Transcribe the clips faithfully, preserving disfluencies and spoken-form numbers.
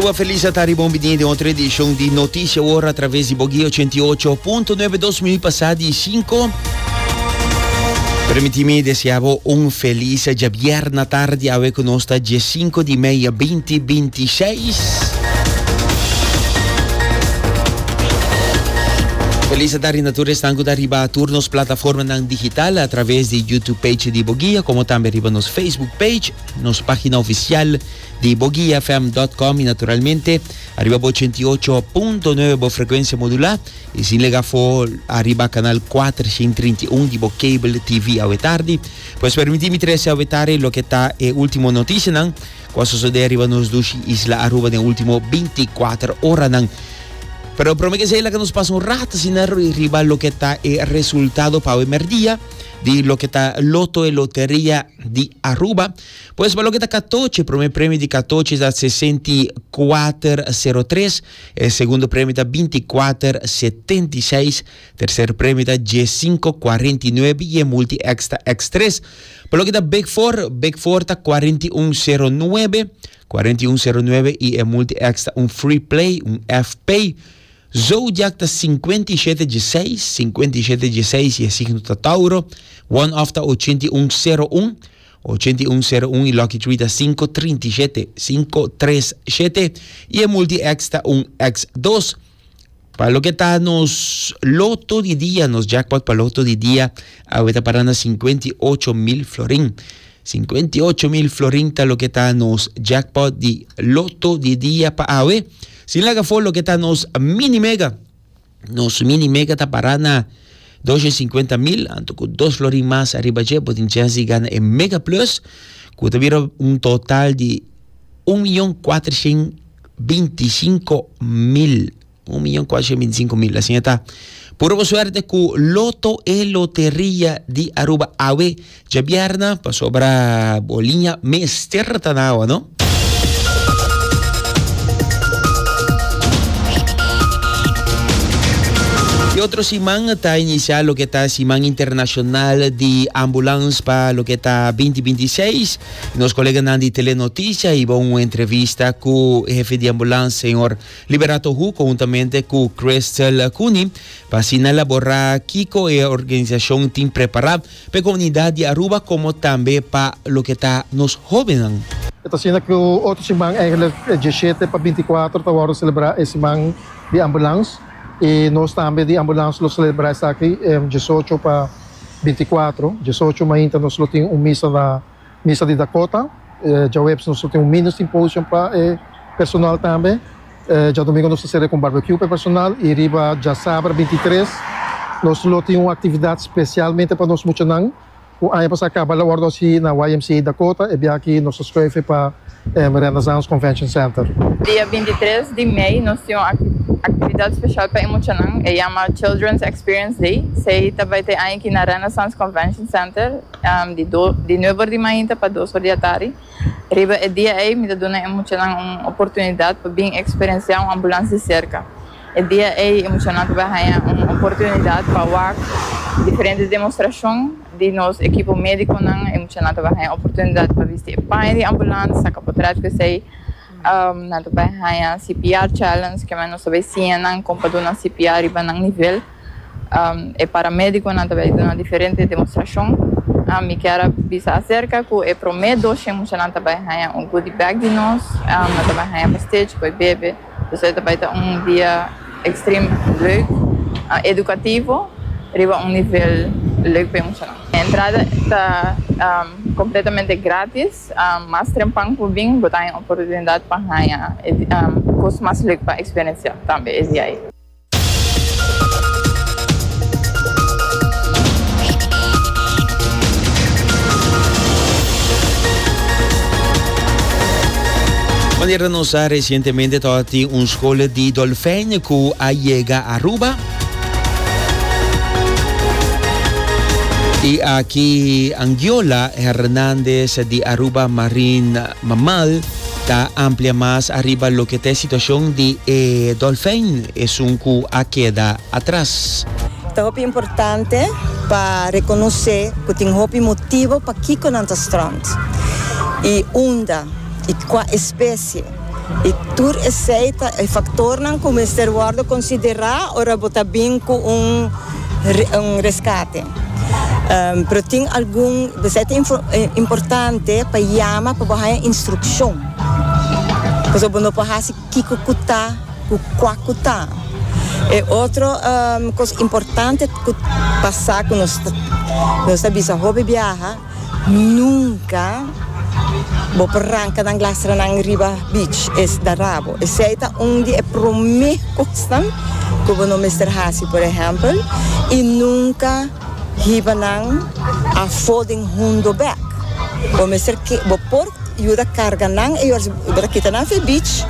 Aruba, feliz tardi, bon bini den otro edicion di Noticia Ora a traves di Bo Guia ochenta i ocho punto nuebe, dos minuut pasa di cinco. Permiti mi desea bo un feliz diabierna tardi, awe cu nos ta diescinco di mei dos mil bintiseis. Feliz tardi na tur esnan cu ta riba tur nos plataformanan digital a traves di YouTube page di Bo Guia, como tambe riba nos Facebook page, nos pagina oficial di boguiafm punto com y naturalmente ariba ochenta i ocho punto nuebe bo frecuencia modula y sin laga afo ariba canal cuatershen trinta i un di bo cable T V awe tardi. Pues permiti mi trece awe tardi loke ta e ultimo noticianan cu a sucede ariba nos dushi isla Aruba den ultimo binticuater oranan. Pero prome cu esey, cu nos pasa un rato asina riba loke ta e resultado pa merdia di loke ta Lotto e Loteria di Aruba. Pues pa loke ta catochi, prome premio di catochi ta sesenta i cuater sero tres, e segundo premio ta binticuater setenta i seis, tercer premio ta diescinco cuarenta i nuebe y e multi extra X tres. Pa loke ta Big four, Big four ta cuarenta i un sero nuebe, cuarenta i un sero nuebe y e multi extra un free play, un F P. Zodiac ta cincuenta i siete diesseis, cincuenta i siete diesseis y e signo ta Tauro. One off ta ochenta i un sero un, ochenta i un sero un y Lucky Three ta cinco trinta i siete, cinco tres siete y e multi X ta un X dos. Pa loke ta nos Lotto di Dia, nos jackpot pa Lotto di Dia, awe ta para na cincuenta i ocho mil florin. cincuenta i ocho mil florin ta loke ta nos jackpot di Lotto di Dia pa awe. Sin laga afo loke ta nos mini mega. Nos mini mega ta para na doshen cincuenta mil, anto cu dos florin mas ariba dje, bo tin chance di gana e Mega Plus, cu ta bira un total di un miyon cuatershen binticinco mil. un miyon cuatershen binticinco mil. Asina ta. Puro suerte cu Lotto e Loteria di Aruba awe diabierna, pasobra bo liña mester ta na awa, no? Y otro siman ta inicia loke ta Siman Internacional di Ambulance pa loke ta dos mil bintiseis. Nos coleganan di Telenoticia a hiba un entrevista cu e hefe di ambulance, señor Liberato Hu, conhuntamente cu Crystal Cooney, pa asina elabora kico e organisacion tin prepara pa e comunidad di Aruba, como tambe pa loke ta nos hobennan. Ta asina cu otro siman, eigenlijk diesshete pa binticuater, ta wordo celebra e Siman di Ambulance. Y nos tambe di ambulance lo celebra esaki diesocho pa binticuater. diesocho mainta nos lo tin un misa na misa di Dakota. Eh, diahuebs nos tin un mini symposium pa eh, personal tambe. Eh, diadomingo nos ta cu barbecue pa personal y riba diasabra bintitres nos lo tin un actividad specialmente pa nos muchanan. E aña pasa caba el a wordo haci na Y M C A Dakota y aki nos a scoge pa eh, Renaissance Convention Center. Dia bintitres di mei nos tin un actividad special pa muchanan, e yama Children's Experience Day. Esey ta bay ta aki na Renaissance Convention Center, um, di, do, di nuebe or di mainta pa dos or di atardi. Riba e dia ey, mi ta duna e muchanan un oportunidad pa bin experiencia un ambulance di cerca. E dia ey, e muchanan bay haya un oportunidad pa wak diferente demostracion di nos ekipo mediconan, e muchanan bay haya oportunidad pa bisti paña di ambulance, saca portret cu esey. Um, nan bay haya C P R challenge, cu nos bay siña nan con pa duna C P R riba nan nivel. Um, e paramediconan tambe duna diferente demostracion. Um, mi kier bisa acerca cu e prome dos muchanan tambe haya un goodie bag di nos, um, tambe haya pastechi pa bebe. Anto, tambe ta un dia extreme leuk, uh, educativo, riba un nivel leuk pa muchanan. E entrada ta um, completamente gratis, um, mas trempan cu bin, bo tin oportunidad pa haya um, cos mas leuk pa experiencia tambe e dia ey. Manera nos a recientemente tin un scol di dolfijn cu a yega Aruba. Y aki Angiola Hernandez di Aruba Marine Mammal ta amplia mas ariba loke ta e situacion di eh, dolfijn esun cu a keda atras. Ta hopi importante pa reconoce cu tin hopi motibo pakico nan ta strand. Y unda, y cua especie. Y tur esey ta e factornan cu mester wordo considera ora bo ta bin cu un un rescate. Um, pero tin algun, ta importante pa yama pa haya instruccion. Pasobra bo no por haci kico cu ta, cua cu ta. E otro um, cos importante cu pasa cu nos nos ta bisa hopi biaha, nunca bo por ranca nan lastra nan riba beach e ta dara bo. Esey ta un di e prome cosnan cu bo no mester hasi, por ehempel, y nunca hiba nan afo den hundo bek. Bo mester ke bo por yuda carga nan e bo kita nan fi beach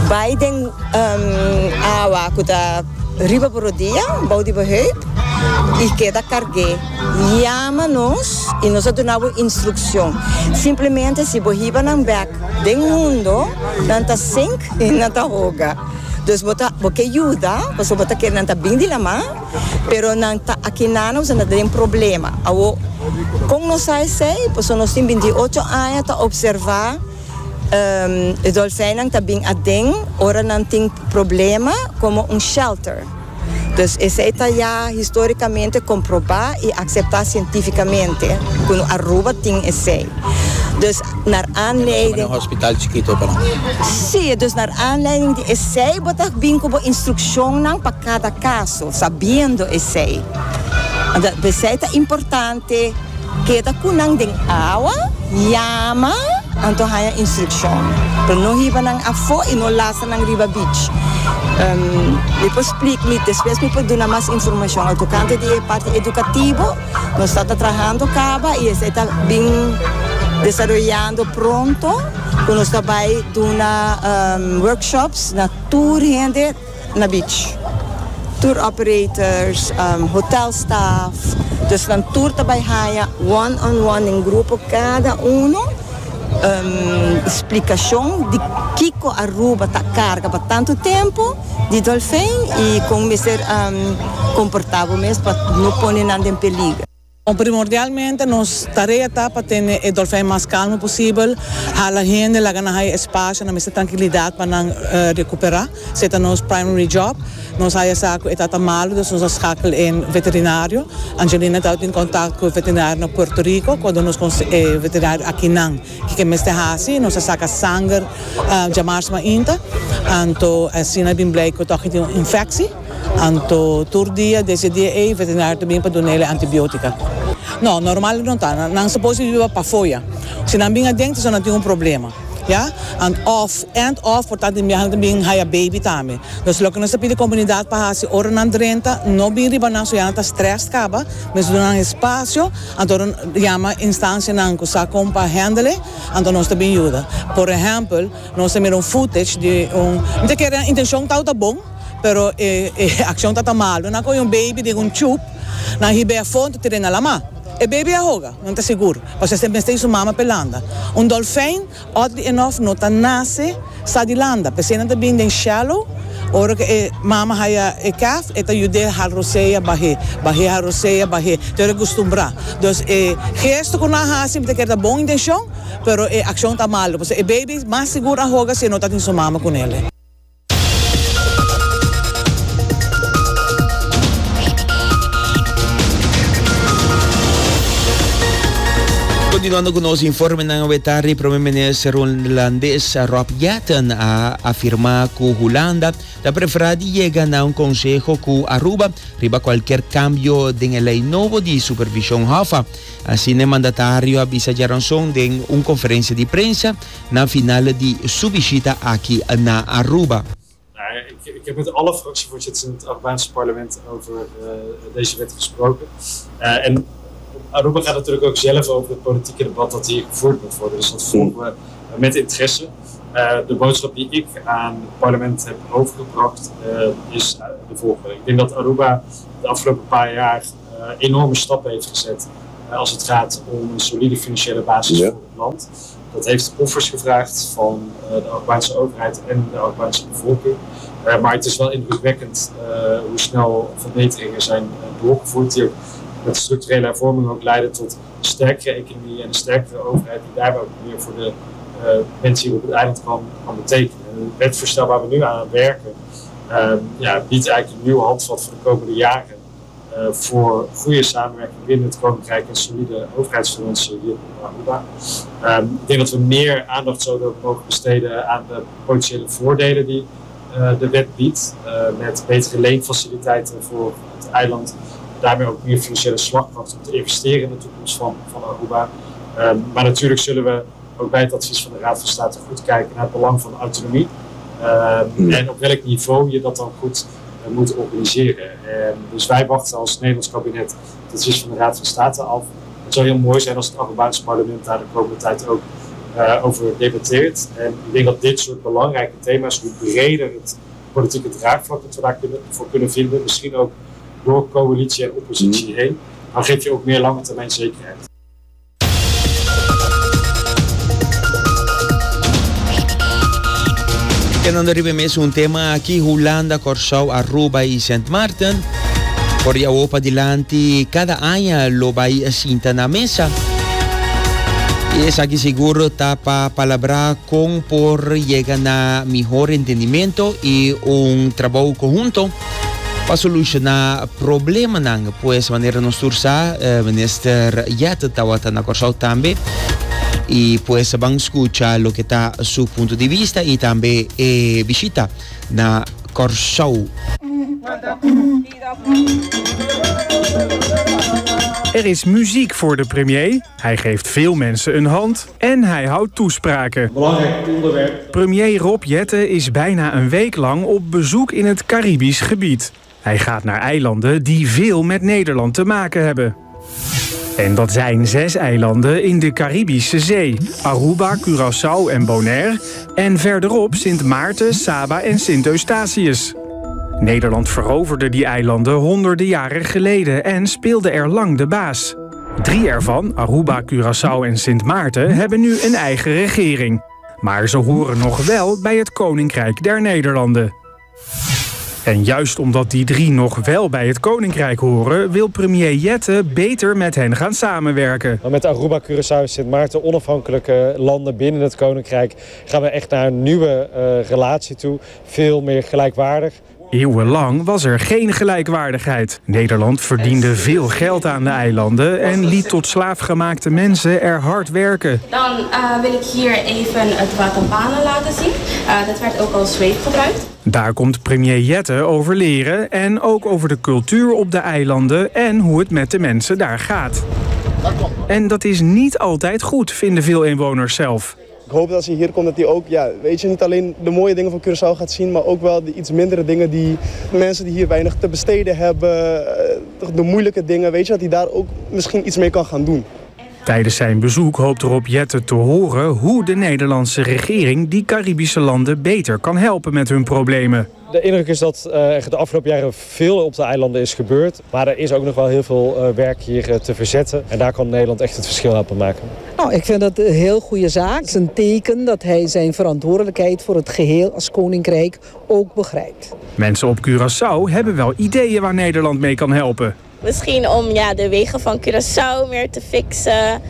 bay den um, awa cu ta riba bo rudia, bou di heup, y keda carga. Yama nos y nos ta duna instruccion. Simplemente si bo hiba nan bek den hundo, nan ta sink y nan ta hoga. Dus bo ta bo ke yuda, bo ta kere nan ta bin di lama, pero nan ta aki nan nan tin problema. Awo con nos sa esey, pues nos tin binti ocho aña ta observa um, e dolfijnnan ta bin aden, ora nan tin problema, como un shelter. Dus esey ta ya historicamente comproba y acepta cientificamente cu Aruba tin esey. Dus naar aanleiding... Un hospital chikito pa Si, dus naar aanleiding di esey, bo ta bin cu instruccion pa cada caso, sabiendo esey. Esey ta importante, keda cu nan den awa, yama, anto haya instruccion. Pero no hiba nan afo y no lastra nan riba beach. Um, mi por splica, mi despues mi por duna mas informacion. Tocante di parti educativo, nos ta trahando caba y ta bin desaroyando pronto, cu nos ta bay duna um, workshops na tur hende na beach. Tour operators, um, hotel staff, dus dan tur ta bay haya one on one den grupo cada uno um, explicacion di kico Aruba ta carga pa tanto tempo di dolfijn y con mester um, comporta bo mes pa no pone nan den peliger. Primordialmente, nos tarea ta pa tene e dolfijn mas calmo posibel, hala hende, laga nan haya espacio, nan mester trankilidad pa nan uh, recupera. Esey ta nos primary job. Nos a haya sa cu e ta malo, dus nos a schakel in veterinario. Angelina ta in contact cu e veterinario na Puerto Rico, cuando nos eh, veterinario aki nan, cu mester hasi, nos a saca sanger uh, diamars mainta, anto asina a bin blijk cu toch tin un infectie. Anto tur dia, desde dia ey, veterinario tambe pa duna antibiotica. No, normal no ta. Nan suppose biba pafo. Si nan bin aden, nan tin un problema. Ja? And of, and of, por tanto, mi tambe haya baby tambe. Dus loke nos ta pidi comunidad pa hasi ora nan drenta, no bin riba nan so ya ta stress caba, mas duna nan espacio, anto yama instancia nan cu sa con pa handle, anto nos ta bin yuda. Por ehempel, nos tin un footage di un, mi kere intencion ta ta bon, pero eh, eh, accion ta malo. Nan a coy un baby den un tube, nan hib'e afo, tir'e na lama. E baby a hoga, no ta sigur. Pasobra semper tin su mama pa e landa. Un dolfijn, oddly enough, no ta nace sa di landa. P'esey nan ta bin den shallow, ora cu e mama haya e calf, e ta yud'e hala rosea bah'e, bah'e hala rosea bah'e, te e acostumbra. Dus e gesto cu nan a hasi, ta kere bon intencion, pero e accion ta malo. E baby mas sigur a hoga si no tin su mama cu ne. Continuando cu nos informenan awe, Prome Minister Hulandes Rob Jetten a afirma cu Hulanda ta prefera di yega na un conseho cu Aruba riba cualkier cambio den ley nobo di supervision HOFA. Asina e mandatario a bisa diaranson den un conferencia di prensa na final di su bishita aki na Aruba. Nou, ik, ik heb met alle fractievoorzitters in het Arubaanse parlement over uh, deze wet gesproken. Uh, en Aruba gaat natuurlijk ook zelf over het politieke debat dat hier gevoerd moet worden. Dus dat volgen we met interesse. Uh, de boodschap die ik aan het parlement heb overgebracht uh, is de volgende. Ik denk dat Aruba de afgelopen paar jaar uh, enorme stappen heeft gezet als het gaat om een solide financiële basis ja. voor het land. Dat heeft offers gevraagd van de Arubaanse overheid en de Arubaanse bevolking. Maar het is wel indrukwekkend hoe snel verbeteringen zijn doorgevoerd die ook met structurele hervormingen ook leiden tot een sterkere economie en een sterkere overheid die daarbij ook meer voor de uh, mensen hier op het eiland kan, kan betekenen. En het wetsvoorstel waar we nu aan werken, uh, ja, biedt eigenlijk een nieuw handvat voor de komende jaren uh, voor goede samenwerking binnen het Koninkrijk en solide overheidsfinanciën hier op Aruba. Um, ik denk dat we meer aandacht zouden mogen besteden aan de potentiële voordelen die uh, de wet biedt, uh, met betere leenfaciliteiten voor het eiland. Daarmee ook meer financiële slagkracht om te investeren in de toekomst van, van Aruba. Um, maar natuurlijk zullen we ook bij het advies van de Raad van State goed kijken naar het belang van autonomie. Um, en op welk niveau je dat dan goed uh, moet organiseren. Um, dus wij wachten als Nederlands kabinet het advies van de Raad van State af. Het zou heel mooi zijn als het Arubaanse parlement daar de komende tijd ook uh, over debatteert. En ik denk dat dit soort belangrijke thema's, hoe breder het politieke draagvlak dat we daar kunnen, voor kunnen vinden, misschien ook door coalitie en oppositie heen, dan geef je ook meer lange termijn zekerheid. Kedando riba mesun tema aki, Hulanda, Corsou, Aruba y Sint Maarten. For di awo padilanti, cada aña lo bay sinta na mesa. Y esaki sigur ta pa palabra con por yega na mihor entendimento y un trabou conhunto pa soluciona problemanan. Pues manera nos tur sa, eh, Minister Jetten tawata na Corsou tambe. Y pues ban scucha loke ta su punto di bista y tambe eh, bishita na Corsou. Er is muziek voor de premier, hij geeft veel mensen een hand en hij houdt toespraken. Belangrijk onderwerp. Premier Rob Jetten is bijna een week lang op bezoek in het Caribisch gebied. Hij gaat naar eilanden die veel met Nederland te maken hebben. En dat zijn zes eilanden in de Caribische Zee. Aruba, Curaçao en Bonaire. En verderop Sint Maarten, Saba en Sint Eustatius. Nederland veroverde die eilanden honderden jaren geleden en speelde er lang de baas. Drie ervan, Aruba, Curaçao en Sint Maarten, hebben nu een eigen regering. Maar ze horen nog wel bij het Koninkrijk der Nederlanden. En juist omdat die drie nog wel bij het Koninkrijk horen, wil premier Jetten beter met hen gaan samenwerken. Maar met Aruba, Curaçao en Sint Maarten, onafhankelijke landen binnen het Koninkrijk, gaan we echt naar een nieuwe uh, relatie toe. Veel meer gelijkwaardig. Eeuwenlang was er geen gelijkwaardigheid. Nederland verdiende veel geld aan de eilanden en liet tot slaafgemaakte mensen er hard werken. Dan uh, wil ik hier even het waterbanen laten zien. Uh, dat werd ook als zweep gebruikt. Daar komt premier Jetten over leren en ook over de cultuur op de eilanden en hoe het met de mensen daar gaat. En dat is niet altijd goed, vinden veel inwoners zelf. Ik hoop dat als hij hier komt dat hij ook, ja, weet je, niet alleen de mooie dingen van Curaçao gaat zien, maar ook wel de iets mindere dingen die mensen die hier weinig te besteden hebben, de moeilijke dingen, weet je, dat hij daar ook misschien iets mee kan gaan doen. Tijdens zijn bezoek hoopt Rob Jetten te horen hoe de Nederlandse regering die Caribische landen beter kan helpen met hun problemen. De indruk is dat uh, de afgelopen jaren veel op de eilanden is gebeurd. Maar er is ook nog wel heel veel uh, werk hier uh, te verzetten. En daar kan Nederland echt het verschil helpen maken. Nou, ik vind dat een heel goede zaak. Het is een teken dat hij zijn verantwoordelijkheid voor het geheel als koninkrijk ook begrijpt. Mensen op Curaçao hebben wel ideeën waar Nederland mee kan helpen. Misschien om ja, de wegen van Curaçao meer te fixen.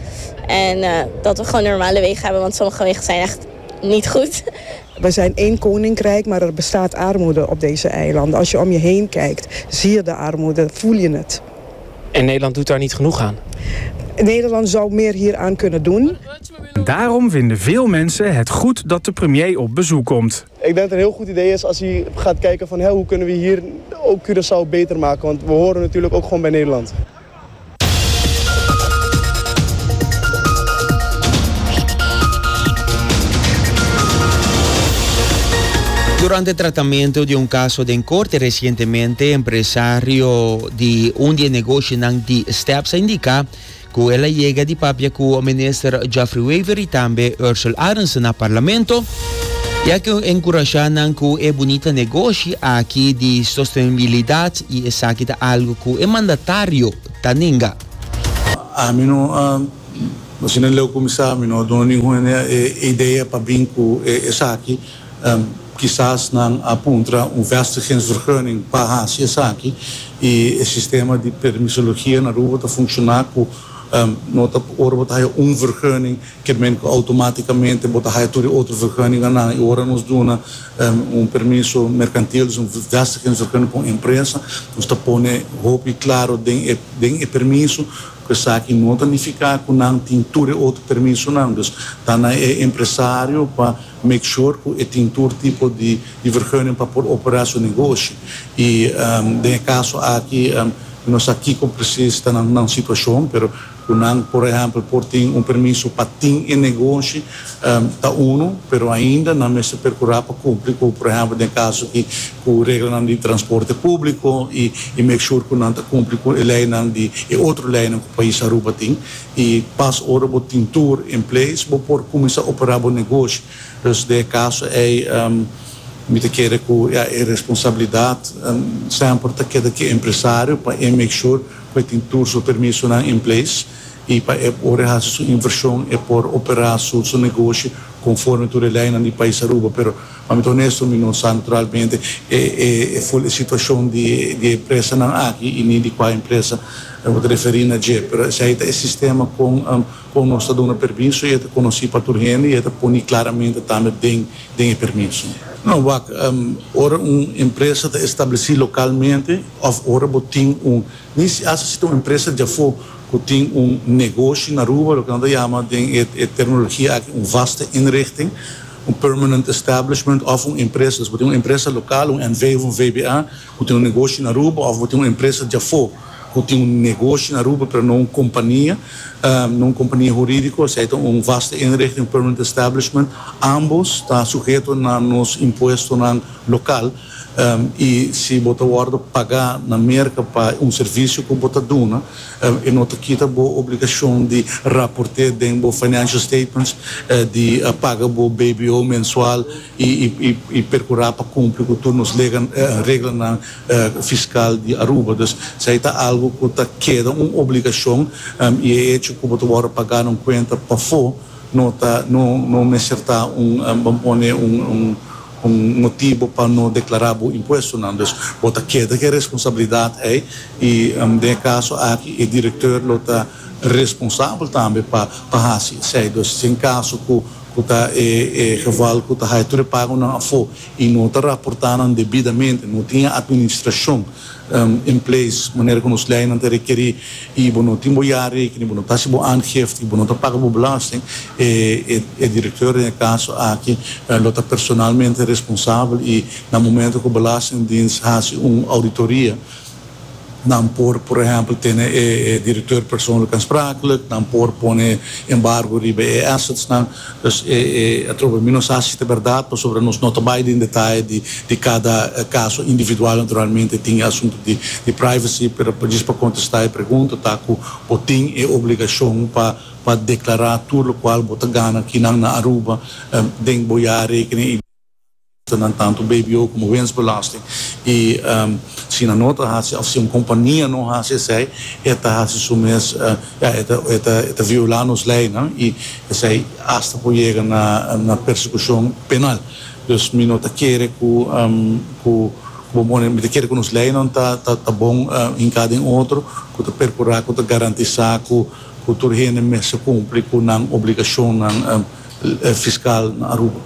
En uh, dat we gewoon normale wegen hebben, want sommige wegen zijn echt niet goed. We zijn één koninkrijk, maar er bestaat armoede op deze eilanden. Als je om je heen kijkt, zie je de armoede, voel je het. En Nederland doet daar niet genoeg aan? Nederland zou meer hieraan kunnen doen. Daarom vinden veel mensen het goed dat de premier op bezoek komt. Ik denk dat het een heel goed idee is als hij gaat kijken van, hé, hoe kunnen we hier ook Curaçao beter maken. Want we horen natuurlijk ook gewoon bij Nederland. Durante tratamento di un caso den corte recientemente, empresario di un di negoshinan di Steps a indica cu el a yega di papia cu minister Geoffrey Wever y tambe Ursula Arendse na parlamento, ya cu encurasha nan cu e bunita negoshi aki di sostenibilidad y esaki ta algo cu e mandatario ta ninga. Ami no, uh, asina leu cuminsa, mi no duna ningun idea pa bin cu esaki. Um, kisas nan a puntra un vestigingsvergunning pa hasi esaki y e sistema di permisologia na Aruba ta funciona cu um, no ta ora bo ta haya un vergunning, kiermen cu automaticamente bo ta haya tur otro vergunning nan. Y ora nos duna um, un permiso mercantil, dus un vestigingsvergunning pa un empresa, nos ta pone hopi claro den e, den e permiso cu esaki no ta nifica cu nan tin tur otro permiso nan. Dus ta na e empresario pa make sure cu e tin tur tipo di, di vergunning pa por opera su negoshi. Y um, den caso aki, um, nos aki con precies ta na situacion, pero nan, por ehempel, por tin un permiso pa tin e negoshi, um, ta uno, pero ainda nan mester percura pa cumpli cu, por ehempel, den caso aki, cu regla di transporte publico y, y make sure cu nan ta cumpli cu e ley di e otro ley cu pais Aruba tin, y pas ora bo tin tur in place, bo por cuminsa opera e negoshi. Dus den caso ey um, mi ta kere cu, ja, e responsabilidad um, semper ta keda cu e empresario pa make sure cu tin tur su permiso nan in place y pa por haci su inversion y por opera su, su negoshi conforme tur ley di pais Aruba. Pero, pa mi honesto, mi no sa naturalmente e, e, e e situacion di, di empresa nan aki y ni di cua empresa bo ta referi na dje, pero esey ta e sistema con um, con nos ta duna permiso y ta conoci pa tur hende y ta poni claramente tambe den den permiso. No, wak, um, ora un empresa ta estableci localmente of ora bo tin un, ni si un empresa di afo cu tin un negoshi na Aruba, loke nan ta yama den e terminologia aki un vaste inrichting, un permanent establishment of un empresa. Dus un empresa local, un N V of un V B A, cu tin un negoshi na Aruba, of un empresa di afo, cu tin un negoshi na Aruba, pero no un compania, um, no un compania huridico, sea un vaste inrichting, permanent establishment, ambos ta suheto na nos impuesto local. Um, y si bo ta wordo paga na Merca pa un servicio cu bo ta duna, um, e no ta kita bo obligacion di raporta den bo financial statements, uh, di uh, paga bo B B O mensual y, y, y, y percura pa cumpli cu tur nos regla, uh, regla na, uh, fiscal di Aruba. Dus esey ta algo cu ta keda un obligacion um, y e hecho cu bo ta wordo paga un cuenta pafo no ta no no mester ta un, um, ban pone un, un un motibo pa no declara e impuesto nan. Dus bo ta keda cu e responsabilidad ey y um, den caso aki e director lo ta responsabel tambe pa pa haci esey. Dus den caso cu cu ta e, e geval cu ta haya tur pago nan afo y no ta raportando debidamente, no tin administracion um, in place, manera cu nos leynan ta requeri, y bo no tin bo jaarrekening, bo no ta haci bo aangifte, bo no ta paga bo belasting, e, e, e director den caso aki lo ta personalmente responsabel y na momento cu Belastingdienst haci un auditoria, nan por, por ehempel, tene e, e director persoonlijk aansprakelijk, nan por pone embargo riba e assets nan. Dus e, e, atrobe, mi no sa si ta berdad, pasobra nos no ta bay den detaye di, di cada caso individual, naturalmente, tin asunto di, di privacy, pero pa contesta e pregunta, ta cu bo tin e obligacion pa pa declara tur loke bo ta gana aki na Aruba, um, den bo jaarrekening, dan tanto B B O como winstbelasting. Y um, si nan no ta haci, of si un compania no haci esey, e ta haci su mes, uh, ja, e ta, e ta, e ta viola nos ley, no? Y esey hasta por yega na, na persecucion penal. Dus mi no ta kere cu, um, cu bon, mi ta kere cu nos ley nan ta ta, ta bon uh, den cada otro, cu ta percura, cu ta garantisa cu cu tur hende mester cumpli cu nan obligacion nan, um, fiscal na Aruba.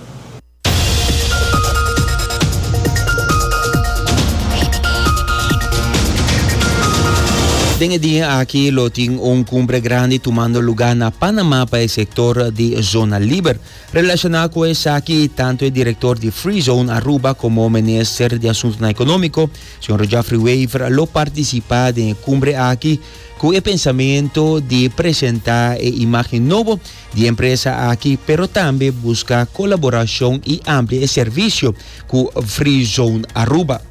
Den e dia aki lo tin un cumbre grandi tumando luga na Panama pa e sector di zona liber. Relaciona cu esaki, tanto e director di Free Zone Aruba como minister di Asunto Economico, señor Geoffrey Wever, lo participa den e cumbre aki cu e pensamento di presenta e imagen nobo di e empresa aki, pero tambe busca colaboracion y amplia e servicio cu Free Zone Aruba.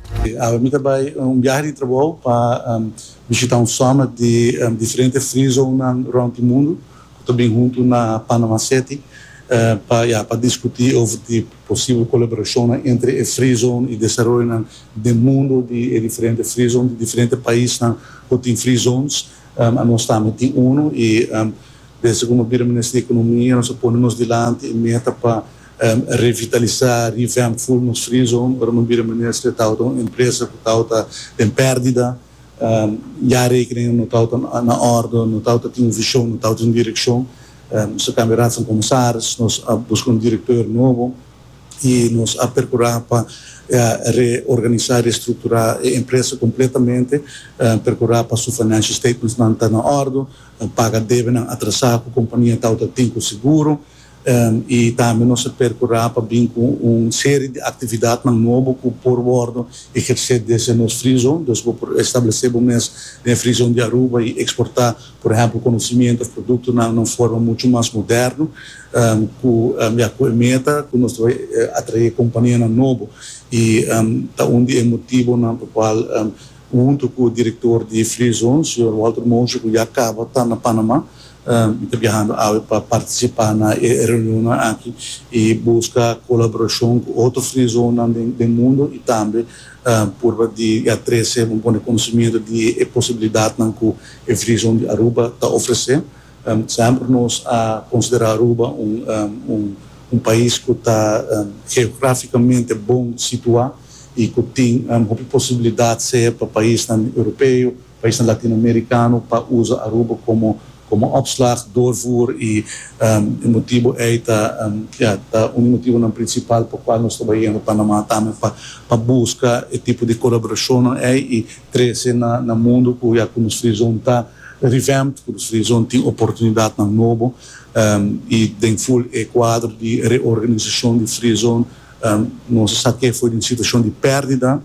Mi ta bay un biahe di trabou pa um, bishita un summit di um, diferente free zone rond mundo, cu ta bin hunto na Panama City, uh, pa ja, pa discuti over di posibel colaboracion entre e free zone y desaroyo di mundo di diferente free zone, di diferente paisnan cu tin free zones. Um, nos tambe tin uno y um, desde cu mi minister di Economia, nos a pone nos dilanti e meta pa um, revitalisa, revamp full nos free zone. Ora mi a bira minister, tabata un empresa cu tabata den perdida. Um, jaarrekeningen no tabata na orde, no tabatin un vision, no tabatin un direccion. Um, nos a cambia raad van commissaris, nos a busca un director nobo y nos a percura pa reorganisa, reestructura e empresa completamente, uh, percura pa su financial statements nan ta na orde, uh, paga debe nan atrasa cu e compania tabatin cu seguro, um, y tambe nos a percura pa bin cu un serie di actividad nobo cu por wordo eherce desde nos free zone, dus por establece mes den free zone di Aruba y exporta, por ehempel, conocimento of producto na un forma mucho mas moderno, um, cu um, ja, cu meta cu nos ta atrae compania nobo y um, ta un di e motibonan pa cual um, hunto cu e director di Free Zone, señor Walter Mosher, cu ya caba ta na Panama, um, ta biahando pa participa na reunion aki y busca colaboracion cu otro free zone den mundo y tambe um, pa di trece un bon conocimento di posibilidad cu e free zone di Aruba ta ofrece. Um, semper nos a considera Aruba un, um, un, un pais cu ta um, geograficamente bon situa y cu tin um, posibilidad sea pa pais europeo, pais latinoamericano, pa usa Aruba como como opslag, doorvoer y um, e motibo ey ta um, ja, ta un motibo principal pa cual nos ta bayendo Panama tambe pa pa busca e tipo di colaboracion ey y trece na na mundo cu ya cu nos free zone ta revamped, cu nos free zone tin oportunidad nobo um, y den full e cuadro di reorganisacion di free zone um, nos sa cu for di un situacion di perdida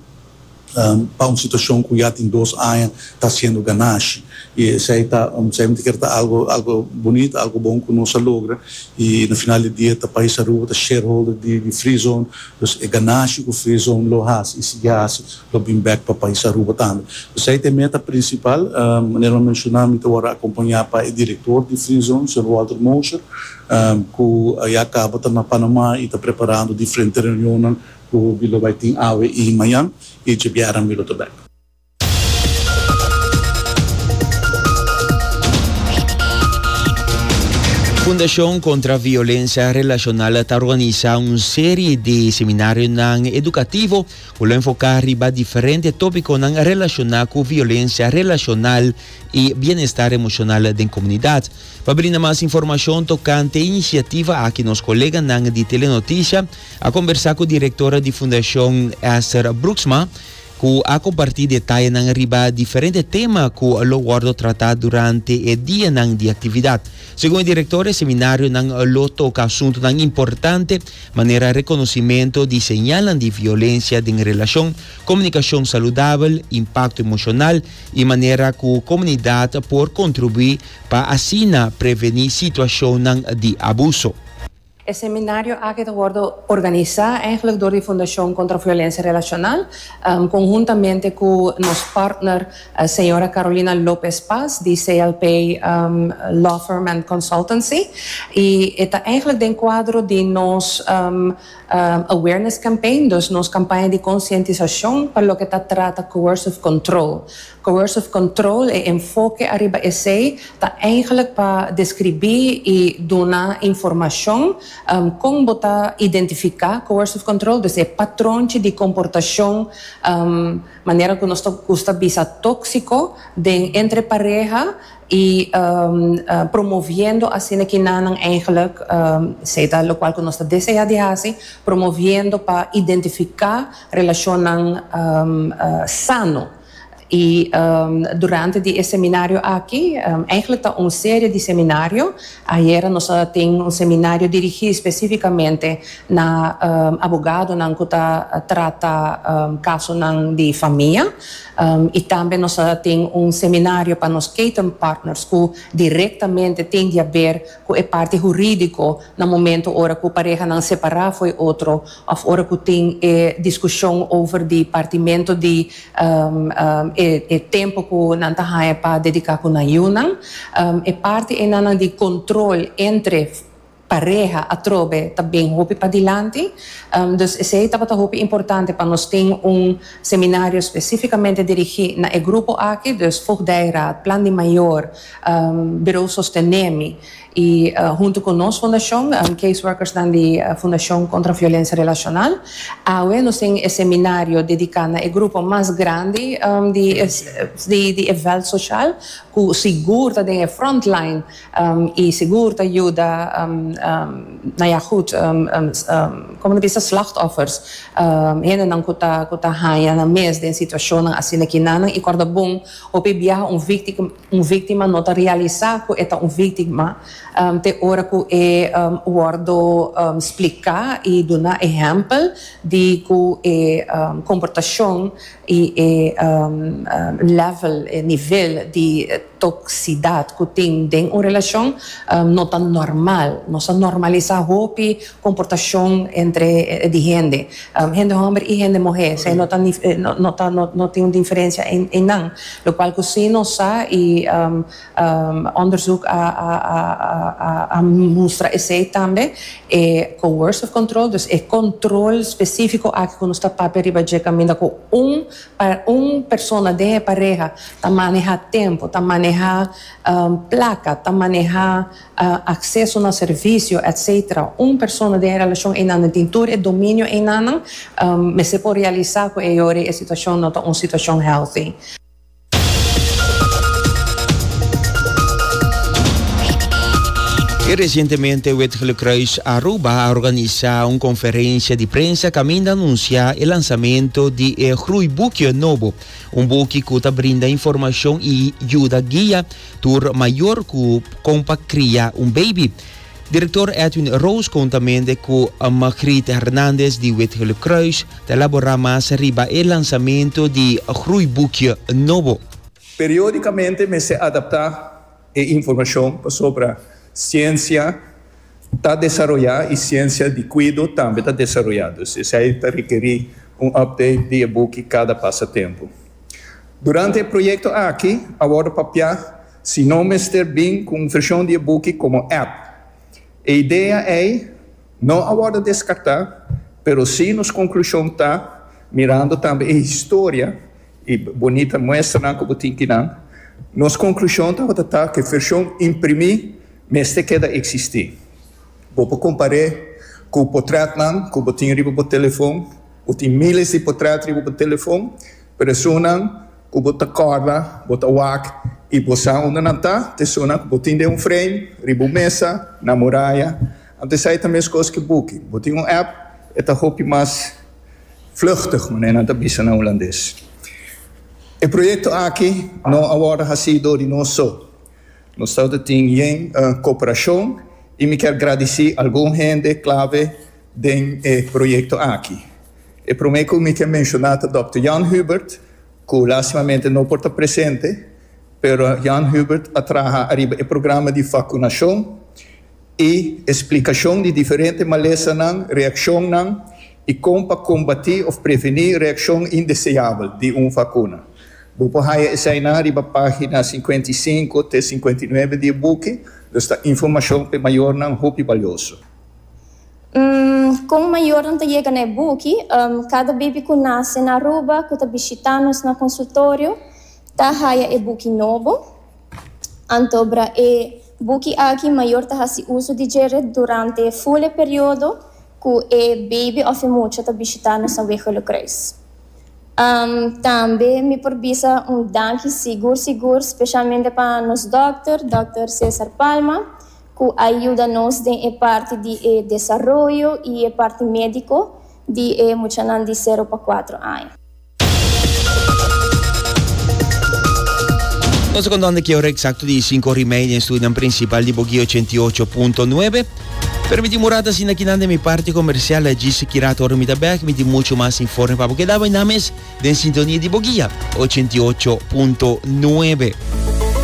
um, pa un situacion cu ya tin dos aña ta haciendo ganashi. Y esey ta um, semper kier ta algo algo bunita, algo bon cu nos a logra y na final di dia ta pais Aruba ta shareholder di, di Free Zone, dus e ganashi cu Free Zone lo haci y sigui haci lo bin back pa pais Aruba tambe. Dus esey ta e meta principal, um, manera menciona, mi ta acompaña pa e director di Free Zone, señor Walter Mosher, um, cu ya caba ta na Panama y ta preparando diferente reunion cu lo bay tin awe y mañan y diabierna mi lo ta back. Fundacion contra Violencia Relacional ta organisa un serie di seminario educativo cu lo enfoca riba diferente topico relaciona cu violencia relacional y bienestar emocional den comunidad. Pa brinda mas informacion tocante e iniciativa aki, nos colega di Telenoticia a conversa cu e directora di Fundacion, Esther Brooksma, cu a comparti detaye riba diferente tema cu lo wordo trata durante e dia di actividad. Segun e director, e seminario lo toca asunto importante, manera reconocimento di señal di violencia den relacion, comunicacion saludabel, impacto emocional y manera cu comunidad por contribui pa asina preveni situacion di abuso. E seminario aki ta wordo organisa eigenlijk door di Fundacion contra Violencia Relacional, um, conhuntamente cu nos partner, uh, señora Carolina Lopez Paz, di C L P um, Law Firm and Consultancy. Y ta eigenlijk den cuadro di nos um, um, awareness campaign, dus nos campaña di concientisacion pa loke ta trata coercive control. Coercive control e enfoke ariba esey ta eigenlijk pa describi y duna informacion um, con bo ta identifica coercive control, dus e patron di comportacion um, manera cu nos gusta bisa toxico den entre pareha y um, uh, promoviendo asina cu nan eigenlijk um, sea loke cu nos ta desea di haci, promoviendo pa identifica relacion um, uh, sano. Y um, durante e seminario aki, um, eigenlijk ta un serie di seminario. Ayera nos tin un seminario dirigi specificamente na um, abogado nan cu ta trata um, caso nan di famia. Um, y tambe nos tin un seminario pa nos partners cu directamente tin di haber cu e parti huridico na momento ora cu pareha nan separa for di otro of ora cu tin eh, discusion over di partimento di um, um, e, e tempo cu nan ta haya pa dedica cu nan yiunan. Um, e parti ey nan di control entre pareha atrobe tambe hopi padilanti. Um, dus esey tabata hopi importante pa nos tin un seminario specificamente dirigi na e grupo aki, dus Voogdijraad, Plan di Mayor, um, Bureau Sostenemi. Y uh, hunto cu nos fundacion, um, caseworkers di uh, Fundacion contra Violencia Relacional, awe nos tin un seminario dedica na e grupo mas grandi um, di, di, di veld social, cu sigur ta den frontline um, y sigur ta yuda, um, um, nou ja, goed, um, um, um, con bisa, slachtoffers, um, hendenan cu ta cu ta haya nan mes den situacion asina cu nan y corda bon hopi biaha un victima un victima no ta realisa cu e ta un victima um, te ora cu e um, wordo um, splica y duna ehempel di cu e um, comportacion y e um, um, level, e nivel di toxicidad cu tin den un relacion um, no ta normal. Nos a normalisa hopi comportacion entre di hende, um, hende homber y hende muhe, mm. no ta no, no, ta, no, no tin un diferencia en, en nan, locual cu si nos sa y um, um, onderzoek a, a, a, a, a mustra esey tambe, e coercive control, dus e control specifico aki cu nos ta papia riba dje, caminda cu un pa un persona di pareha ta maneha tempo, ta maneha um, placa, ta maneha uh, acceso na servicio, et cetera. Un persona den relacion einan tin tur e dominio einan, um, mester por realisa cu e situacion no ta un situacion healthy. Y recientemente Wit Gele Kruis Aruba a organisa un conferencia di prensa caminda a anuncia e lansamento di e Groeiboekje nobo, un buki cu ta brinda informacion y yuda guia tur mayor cu con pa cria un baby. Director Edwin Roos conhuntamente cu Margriet Hernandez di Wit Gele Kruis ta elabora mas riba e lansamento di Groeiboekje nobo. Periodicamente mester adapta e informacion sobre ciencia ta desaroya y ciencia di cuido tambe ta desaroyando. Esey ta rekeri un update di e-book cada pasa tempo. Durante e proyecto aki, awor papia, si no mester bin cu un version di e-book como app. E idea ta, no awor descarta, pero si nos conclusion ta, mirando tambe e historia, y bunita muestra cu tin cu nos conclusion ta ta cu e version imprimi mester keda existi. Bo por compara cu portretnan, cu bo tin riba bo telefon, bo tin miles di portret riba bo telefon, pero esunnan cu bo ta corda, bo ta wak, y bo sa unda nan ta, esunnan cu bo tin den un frame, riba mesa, na muraya. Anto esey tambe cos cu buki. Bo tin un app, e ta hopi mas vluchtig, manera nan ta bisa na Hulandes. E proyecto aki no a wordo haci di nos so. Nos ta tin uh, cooperacion y mi kier gradici algun hende clave den e proyecto aki. E prome cu mi kier menciona Doctor Jan Hubert, cu lastimamente no por ta presente, pero Jan Hubert a traha ariba e programa di vacunacion y explicacion di diferente malesanan, reaccionnan y con pa combati of preveni reaccion indeseabel di un vacuna. Bo por haya esey na riba pagina cincuenta y cinco te cincuenta y nuebe di e buki, esta informacion pa mayornan hopi valioso. Um, con mayornan ta yega na e buki, um, cada baby cu nace na Aruba, cu ta bishita nos na consultorio, ta haya e buki nobo. Anto bra e buki aki mayor ta hasi uso di dje durante full e periodo cu e baby of e mucha ta bishita nos na Wit Kruis. Um, tambe mi por bisa un danki sigur sigur specialmente pa nos doctor, Doctor Cesar Palma, cu a yuda nos den e parti di eh, desaroyo y e parti medico di eh, muchanan di sero pa cuater aña. Nos ta contando cu ora exacto di cinco or y mei den studio principal di Bo Guia ochenta y ocho punto nuebe. Permiti mi rato asina aki di mi parti comercial, djis aki rato ora mi ta back, mi tin mucho mas informe pa bo keda na mes den sintonia di Bo Guia ochenta y ocho punto nuebe.